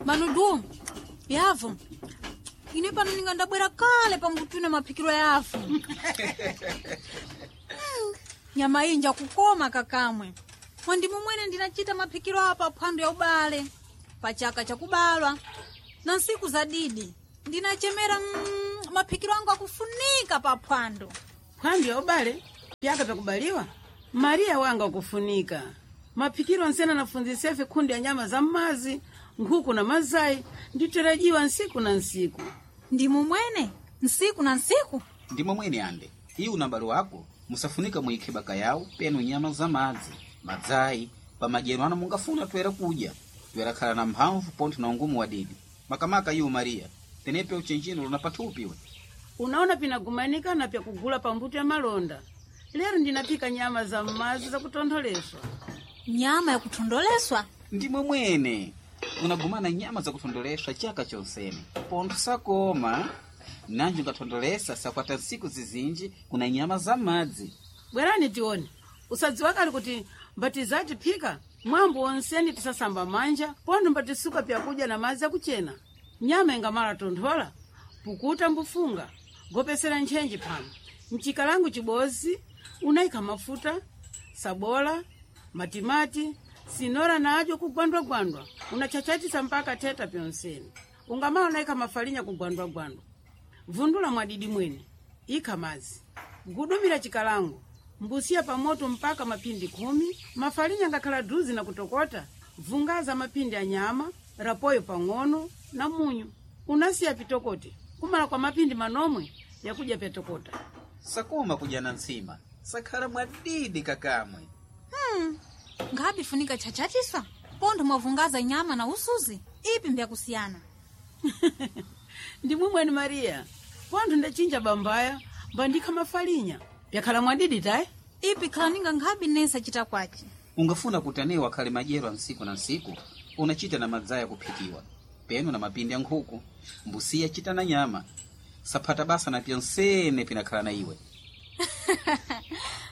Manudu yavo ine pano ninga ndabwera kale pambutuna maphikiro yafu. Nyama iyi njakukoma kakamwe mwandi mumwene ndinachita maphikiro apa phwando ya ubale pachaka chakubalwa na nsiku za didi ndinachemera maphikiro angu akufunika pa phwando. Phwando ya ubale pyaka pyakubaliwa Mariya wanga akufunika maphikiro nsena nafunzisa kundi ya nyama za mmazi, nkhuku na mazayi nditerajiwa nsiku na nsiku. Ndi mumwene nsiku na nsiku. Ndimo mwene ande iwu unabalo wako musafunika muikhe baka yawo penu nyama za madzi madzayi pamadyero ano mungafuna toera kudya toera na mphamvu pontho na ungumu wadidi makamaka iwu Mariya tenepe uchenjino luna pathupi we. Unaona pinagumanika na pyakugula pambuto ya malonda lero ndinaphika nyama za mmazi zakutontholeswa. Nyama yakuthondoleswa? Ndimwe mwene unagumana nyama zakuthondoleswa chaka chonsene pontho sakoma nanji ungathondolesa sakwata nsiku zizinji kuna nyama za madzi. Bwerani tione usadziwa kali kuti mbati phika mwambo wonseni tisasamba manja pontho mbatisuka pyakudya na madzi akuchena. Nyama ingamala tonthola pukuta mbufunga gopesera ntchenji phano mchikalangu chibozi unayikha mafuta sabola matimati sinora nacho kugwandwagwandwa unachachatisa mpaka theta pyonseni ungamala unayikha mafalinya kugwandwagwandwa vundula mwadidi mwene ikha madzi gudumira chikalango mbusiya pamoto mpaka mapindi 10 mafalinya ngakhala duzi na kutokota vungaza mapindi a nyama rapoyo pang'ono na munyu unasiya pitokote kumala kwa mapindi manomwe yakudya pyatokota. Sakoma kudya na ntsima sakhala mwadidi kakamwe. Ngabi funika chachatisa pontho mwavungaza nyama na usuzi ipi mbyakusiyana. Ndimwe mwene Mariya pontho ndachinja bambaya mbandikha mafalinya pyakhala mwadidi tayi. Ipi khalaninga nkhabi nesa chita kwachi. Ungafuna kuti anewo akhale madyero a nsiku na nsiku unachita na madzaya kuphikiwa penu na mapindi a nkhuku mbusiya chita na nyama saphata basa na pyonsene pinakhala na iwe.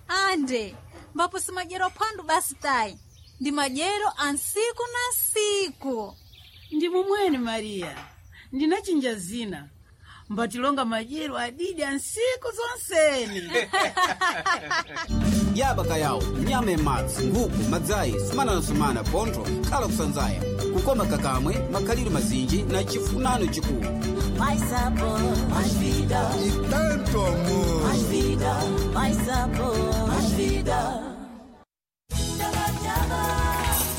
Ande mbapo si madyero aphwando basi tayi ndi madyero a nsiku na nsiku. Ndi mumwene Mariya ndinachinja zina mbatilonga madyero adidi a nsiku zonsene. Yaba yawo nyama imadzi nkhuku madzayi sumana na sumana pontho khala kusanzaya kukoma kakamwe makhaliro mazinji na chifunano chikulu. Mais sabor, mais vida. E tanto amor. Mais vida, mais sabor, mais vida.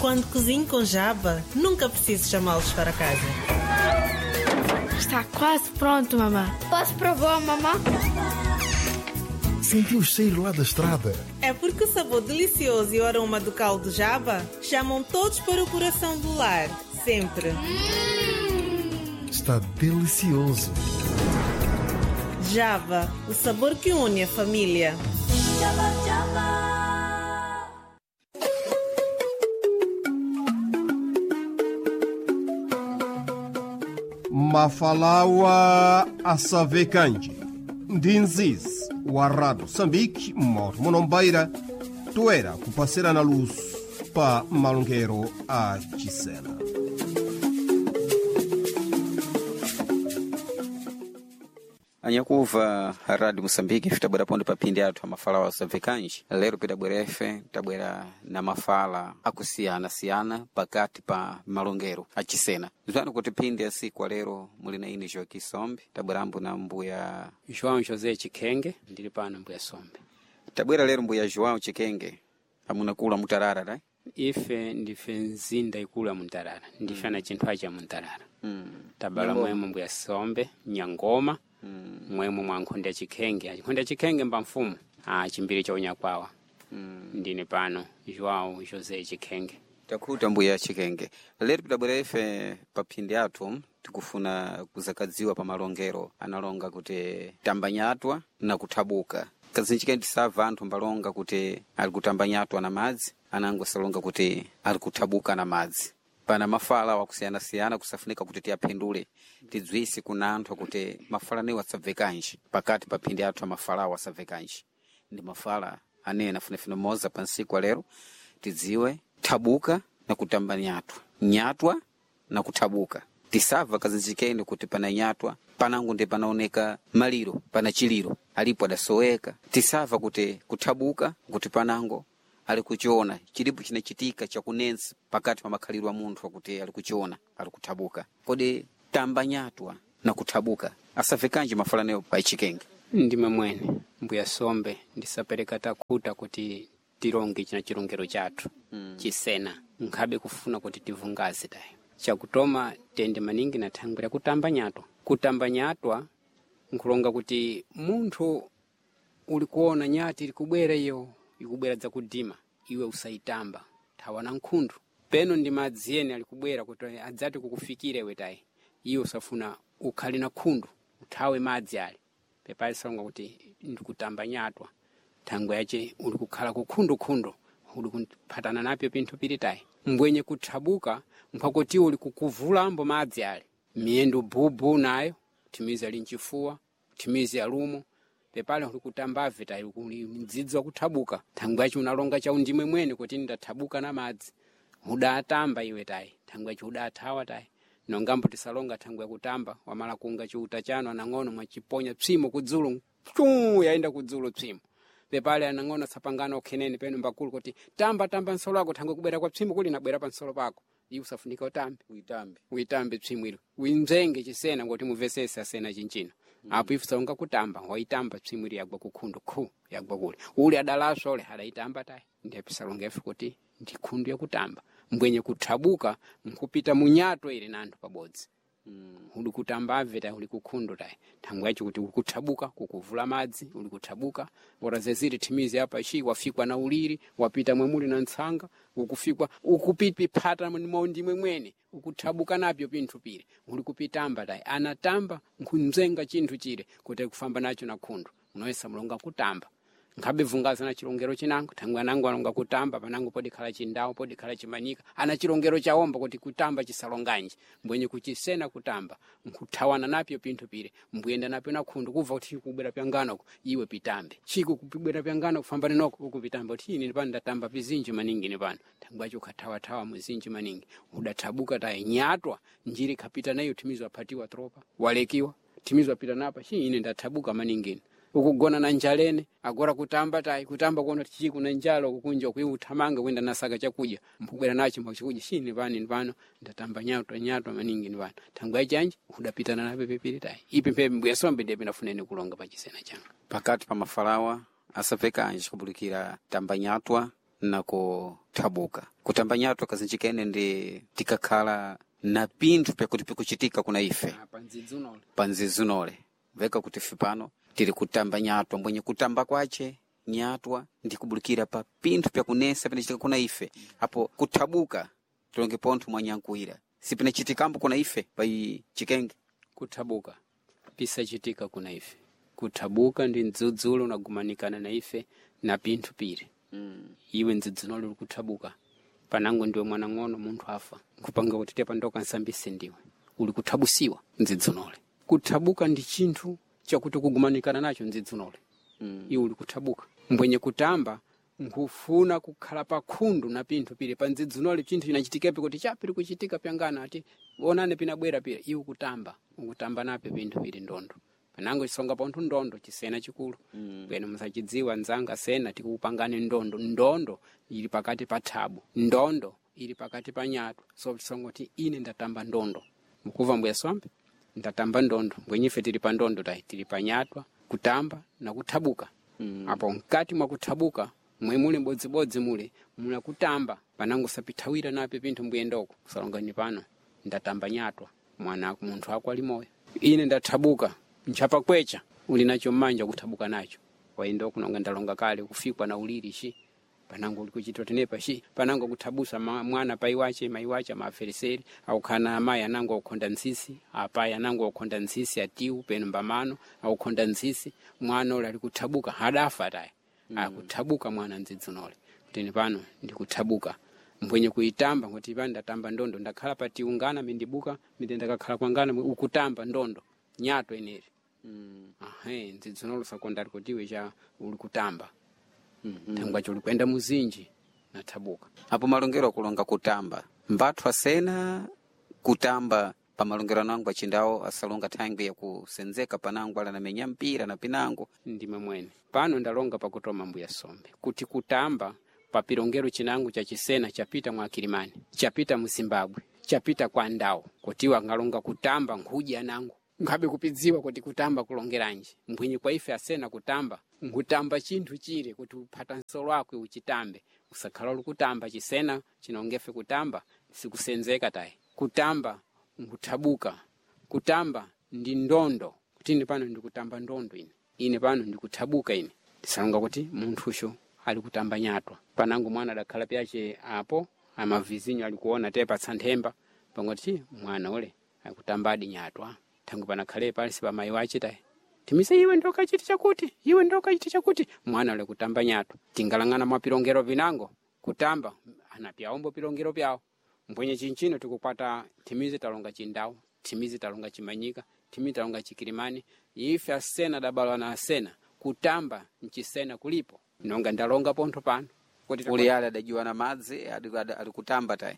Quando cozinho com jaba, nunca preciso chamá-los para casa. Está quase pronto, mamã. Posso provar, mamã? Senti o cheiro lá da estrada. É porque o sabor delicioso e o aroma do caldo jaba chamam todos para o coração do lar. Sempre. Está delicioso. Java, o sabor que une a família. Java, Java. Mafalawa Asavekanji ndinzizi wa Rado Sambiki moto munombaira toera kupasirana luso pa malongero a Chisena. Anyakuva Radio Moçambique fitabwera pondo pa phindi athu amafala asavekanji lero pitabwera efe tabwera na mafala akusiyana-siyana pakati pa malongero achisena zanu kuti phindi asiku alero muli na ine Joaquim Sombe tabwerambo na mbuya João José Chikenge ndili pano mbuya Sombe. Tabwera lero mbuya João Chikenge amunakula mutarara ta Ife ndife nzinda ikulu ya muntarara ndife na chinthu acha muntarara. Tabala mwemo mbuya Sombe Nyangoma. Mwemo mwa nkhonde ya Chikhenge nkhonde ya Chikhenge mba mfumu chimbiri cha unyakwawa. Ndine pano João José Chikhenge. Takhuta mbuya Chikenge lero pitabwera ife pa phindi athu tikufuna kuzakadziwa pa malongero analonga kuti tambanyatwa na kuthabuka kazinji kene tisabva anthu mbalonga kuti ali kutambanyatwa na madzi anango salonga kuti ali kuthabuka na madzi pana mafala wakusiyanasiyana kusafunika kuti tiyaphindule tidzwise kuna anthu kuti mafala anewo asabvekanji pakati pa phindi athu amafalawo asabvekanji ndi mafala anene afunafuna moza pa nsiku alero tidziwe thabuka na kutamba nyatwa nyatwa na kuthabuka. Tisava kazinjikeni kuti pana nyatwa panango ndi panaoneka maliro, pana chiliro alipo adasoweka. Tisava kuti kuthabuka kuti panango ali kuchiona chilipo chinachitika chakunensa pakati pa makhalidwe a munthu akuti ali kuchiona ali kuthabuka. Kodi tamba nyatwa na kuthabuka asavekanji mafalaneyo pa chikenge? Ndimwe mwene mbuya sombe ndisapereka takhuta kuti tilonge china chilongero chathu chisena nkhabe kufuna kuti tivungaze tayo. Chakutoma tende maningi na thangwi la kutamba nyatwa. Kutamba nyatwa nkulonga kuti munthu uli kuona nyati ili kubwera iyo ikubwera dzakudima, iwe usayitamba, thawa na nkhundu. Peno ndi madzi ene ali kubwera kuti adzati kukufikira iwe tayi, iwe usafuna ukhale na khundu uthawe madzi ali pepali salonga kuti ndikutamba nyatwa. Thangwe yace uli kukhala kukhundukhundu, uli kuphatana napyo pinthu pili tayi. Mbwenye kuthabuka mphakuti uli kukuvulambo madzi ali miyendo bubu nayo thimizi ali mchifuwa, thimizi alumo pepale uli kutambave tayi, uli mdzidzi wakuthabuka. Thangwe yace unalonga cha undimwe mwene kuti ndathabuka na madzi, udatamba iwe tayi, thangwe yace udathawa tayi. Nongambo tisalonga thangwe yakutamba wamala kunga chiuta chanu anang'ono mwachiponya psimo kudzulu chu yaenda kudzulu psimo pepale anang'ono asapangana okhenene peno mbakulu kuti tamba tamba nsolo ako thangwe kubwera kwa psimo kuli nabwera pa nsolo pako, iwe usafunika utambe Uitambe. Uitambe psimo ilo uimzenge chisena ngoti muvesese asena chinchino. Apo ife salonga kutamba waitamba psimo ili yagwa kukhundu khu yagwa kule uli adalaswa ule adaitamba tayi. Ndiye pisalonga ife kuti ndi khundu yakutamba. Mbwenye kuthabuka nkupita munyato ili na anthu pabodzi. Uli kutambave tayi, uli kukhundu tayi, thangwe yacho kuti uli kuthabuka kukuvula madzi, uli kuthabuka ora zeziri thimizi apa shi wafikwa na uliri wapita mwemuli na ntsanga ukufikwa ukupiphata ndimwe mwene ukuthabuka napyo pinthu pile uli kupitamba tayi anatamba nkhunzenga chinthu chile kuti kufamba nacho na khundu unoyesa mulonga kutamba nkhabe vungaza na chilongero chinango thangwe anango alonga kutamba panango podikhala chindawo podikhala chimanyika ana chilongero chawomba kuti kutamba chisalonganji mbwenye kuchisena kutamba nkuthawana napyo pinthu pile mbuyenda napyo na khundu kubva kuti kubwera pyanganoko iwe pitambe chiku kupibwera pyangano kufambana noko ukupitamba kuti ine pano ndatamba pizinji maningi ine pano thangwe acho ukhathawathawa muzinji maningi udathabuka tayi nyatwa njiri khapita nayo thimizo aphatiwa tropa walekiwa thimizo apita napa shi ine ndathabuka maningi ine ukugona na njalene agora kutamba tayi kutamba kuona tichi kuna njala ukukunja kuyi uthamanga kwenda nasaka chakudya mpubwera nacho mwachikudya shini pano ni pano ndatamba nyatwa nyatwa maningi ni pano thangwe yachanji udapitana nape pepiri tayi ipi mphepi mbuya sombe ndiye pinafuneni kulonga pachisena changa. Pakati pa mafalawa asavekanji kubulikira tamba nyatwa na kuthabuka. Kutamba nyatwa kazinjikene ndi tikakhala na pinthu pyakuti pikuchitika kuna ife apa ndzidzi unole panzizinole veka kuti ife pano tiri kutamba nyatwa mbwenye kutamba kwace nyatwa ndi kubulikira pa pinthu pyakunesa pinachitika kuna ife. Apo kuthabuka tilonge pontho mwanyankuwira sipinachitikambo kuna ife pa chikenge. Kuthabuka pisachitika kuna ife. Kuthabuka ndi mdzudzulo unagumanikana na ife na pinthu pile. Iwe mdzudzulo uli kuthabuka panango ndiwe mwanang'ono munthu afa nkupanga kuti tepa ndoka nsambise ndiwe uli kuthabusiwa mdzidzunole. Kuthabuka ndi chinthu chakuti kugumanikana nacho mdzidzunole. Iwe uli kuthabuka mbwenye kutamba nkufuna kukhala pa khundu na pinthu pile pa ndzidzunole chinthu chinachitikepi kuti chapili kuchitika pyangana ati onane pinabwera pile iwe kutamba ukutamba nape pinthu pili ndondo panango chisonga pontho ndondo chisena chikulu bweno musachidziwa nzanga sena tikupangani ndondo ndondo ili pakati pa thabu ndondo ili pakati pa nyatwa so tisonga kuti ine ndatamba ndondo mukuva mbuya swambe ndatamba ndondo mbwenyife tili pa ndondo tayi tili pa nyatwa kutamba na kuthabuka. Apo mkati mwa kuthabuka mwe muli bodzibodzi mule mula kutamba panango sapithawira nape pinthu mbuyendoko kusalongani pano ndatamba nyatwa mwana munthu ako ali moyo ine ndathabuka nchapa kwecha uli nacho mmanja kuthabuka nacho waenda kunonga ndalonga kale kufikwa na uliri shi panango uli kuchitwa tenepa shi panango kuthabusa mwana pai wache mai wache amafereseri aukhana amayi anango aukhonda ntsisi apayi anango aukhonda ntsisi atiu peno mbamano aukhonda ntsisi mwana ule ali kuthabuka hadafa tayi. Akuthabuka mwana ndzidzunole kutini pano ndikuthabuka mbwenye kuitamba kuti pano ndatamba ndondo ndakhala patiungana mindibuka minde ndakakhala kwangana ukutamba ndondo nyato ineri. Ahe ndzidzunole sakondari kutiwe cha uli kutamba thangwacho uli kuyenda muzinji nathabuka. Apo malongero akulonga kutamba mbathu asena Kutamba pamalongero anango achindawo asalonga thangwi yakusenzeka panango ala namenya mpira na pinango. Ndime mwene pano ndalonga pakutoma mbuya sombe kuti kutamba papilongero chinango cha chisena chapita mwa Kilimani, chapita mu Zimbabwe, chapita kwa ndawo kutiwa ngalonga kutamba nkhuja nango nkhabe kupidziwa kuti kutamba kulongeranji mbwinyi kwa ife asena kutamba nkutamba chinthu chile kuti uphata nsolo akwe uchitambe usakhala uli chisena chinongefe kutamba sikusenzeka tayi. Kutamba nkuthabuka, kutamba ndi ndondo kuti ine pano ndikutamba ndondo, ine pano ndikuthabuka, ine tisalonga kuti munthucho ali kutamba nyatwa. Panango mwana adakhala pyache apo amavizinyo alikuona te patsa nthemba pangoti mwana ule akutambadi nyatwa thangu panakhale pansi pa mayi wache tayi timise iwe ndokachiti chakuti iwe ndokachiti chakuti mwana ule kutamba nyatwa. Tingalang'ana mwa pilongero pinango kutamba anapyaombo pilongero pyawo mbwenye chinchino tikukwata thimizi talonga chindawu, thimizi talonga chimanyika, thimizi talonga chikilimani. Ife asena dabalwa na asena kutamba mchisena kulipo nonga ndalonga pontho pano kuti Uli ale adajiwa na madzi alikutamba tayi.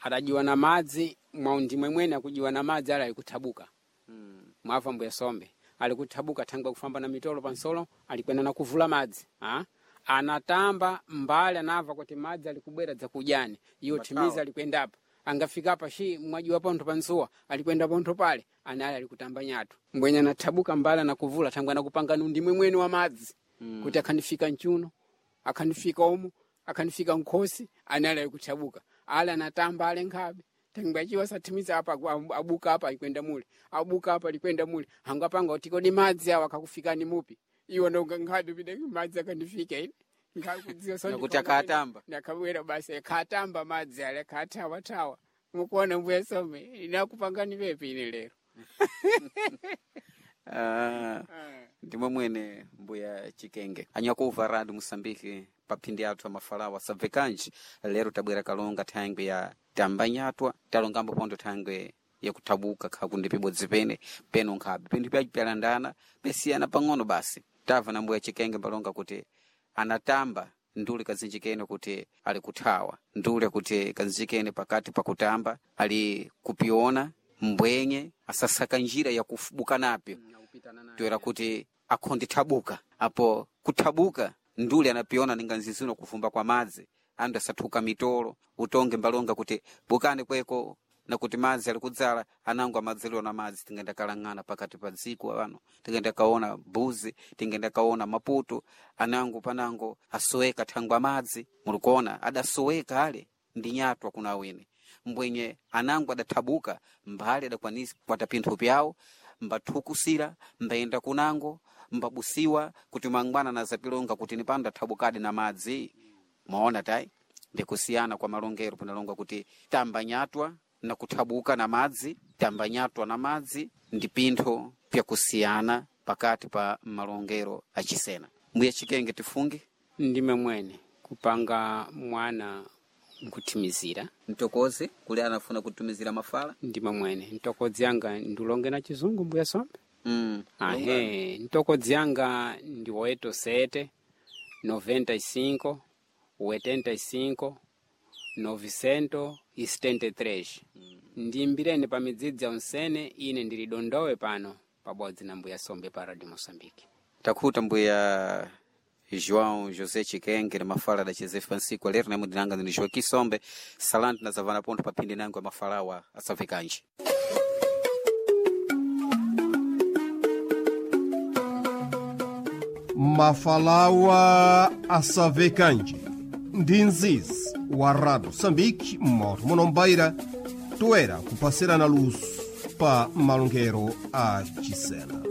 Adajiwa na madzi mwaundimwe mwene akujiwa na madzi ali alikuthabuka. Mwava mbuya sombe alikuthabuka thangwe kufamba na mitolo pansolo alikwena na kuvula madzi ha? Anatamba mbali anava kuti madzi alikubwera dzakujani iyo thimizi alikwendapa angafika apa shi mwajiwa pontho pansuwa alikwenda pontho pale anali alikutamba nyatu mbwenye anathabuka mbali anakuvula thangwe anakupanga ndimwe mwene wa madzi kuti akhandifika mchuno akhandifika umu akhandifika nkhosi anali alikuthabuka ale anatamba ale nkhabe thangwe achiwa sathimiza apa abuka apa alikwenda mule abuka apa alikwenda mule hangapanga kuti kodi madzi awa akakufikani mupi iwo ndonga nkhabe pide madzi akandifika ine nkhakudziwa so. Nakuti akatamba. Nakabwera basi akatamba madzi ale akathawathawa mukuona mbuya some inakupangani pepi ine lero. Ah, ndimwe mwene mbuya Chikenge anyakuva radi Musambiki paphindi athu amafalawa sabvekanji lero tabwera kalonga thangwi ya tambanyatwa talongambo pontho thangwi yakuthabuka khakundi pibodzi pene peno nkhabe pinthu pyaci pyalandana pesiyana pang'ono basi. Tamva na mbuya Chikenge mbalonga kuti anatamba ndule kazinjikene kuti ali kuthawa ndule kuti kazinjikene pakati pakutamba ali kupiona mbwenye asasaka njira ya kufubuka napyo toera kuti akhondithabuka apo kuthabuka ndule anapiona ninga nzizino kufumba kwa madzi andu asathuka mitolo utonge mbalonga kuti bukani kweko nakuti madzi ali kudzala anango amadzaliwa na madzi tingenda kalang'ana pakati pa dziko pano tingenda kaona mbuzi tingenda kaona maputo anango panango asoweka thangwa madzi mulikuona adasoweka ale ndi nyatwa kuna awene mbwenye anango adathabuka mbali adakwanisa kukwata pinthu pyawo mbathukusira mbayenda kunango mbabusiwa kuti mangwana nazapilonga kuti nipano ndathabukadi na madzi. Mwaona tayi ndikusiyana kwa malongero panalonga kuti tamba nyatwa na kuthabuka na madzi tamba nyatwa na madzi ndi pintho pyakusiyana pakati pa malongero achisena. Mbuya Chikenge tifunge. Ndime mwene kupanga mwana nkuthimizira mtokozi kuli anafuna kutumizira mafala. Ndime mwene ntokodzi yanga ndilonge na chizungu mbuya sombe. Ahe ntokodzi yanga ndi 87 95 85 973. Ndimbireni pa midzidzi ya unsene ine ndili dondowe pano pabodzi na mbuya sombe pa Radio Mosambiki. Takhuta mbuya João José Chikenge na mafala da Cheze Francisco lero namwe ndinanga ndini Joaquim Sombe salanti na zavana pontho paphindi nango ya mafalawa asabvekanji. Mafalawa asavekanje ndi nzizi wa Rado Sambiki mmoto munombaira toera kupasirana luso pa malongero a Chisena.